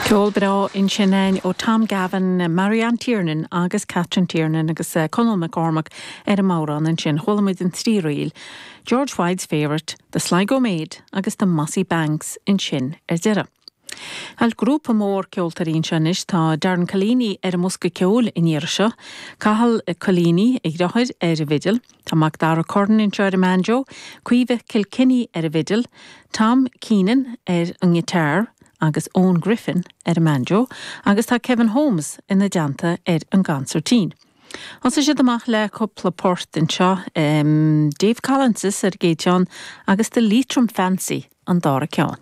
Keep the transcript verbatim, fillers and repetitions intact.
Ceol breá ansin ó Tom Gavin, Marianne Tiernan agus Catherine Tiernan agus uh, Conall McCormack ar an mbodhrán ansin chuala muid an trí ríl. George White's favourite, The Sligo Maid agus the Mossy Banks ansin ar deireadh. Al grúpa mór ceoltóirí anois tá Darren Collini ar an mbosca ceoil an iarraidh seo, Cathal Collini a dheartháir ar an bhfidil, Tá Macdara Curran anseo ar an mbanjo, Caoimhe Kilkenny ar an bhfidil, Tom Keenan ar an ngiotár agus Owen Griffin ar an mbanjo, agus tá Kevin Holmes ina dteannta ar an gconsairtín. Thosaigh siad amach le cúpla port anseo um, Dave Collins ar an gcéad cheann agus The Leitrim Fancy an dara ceann.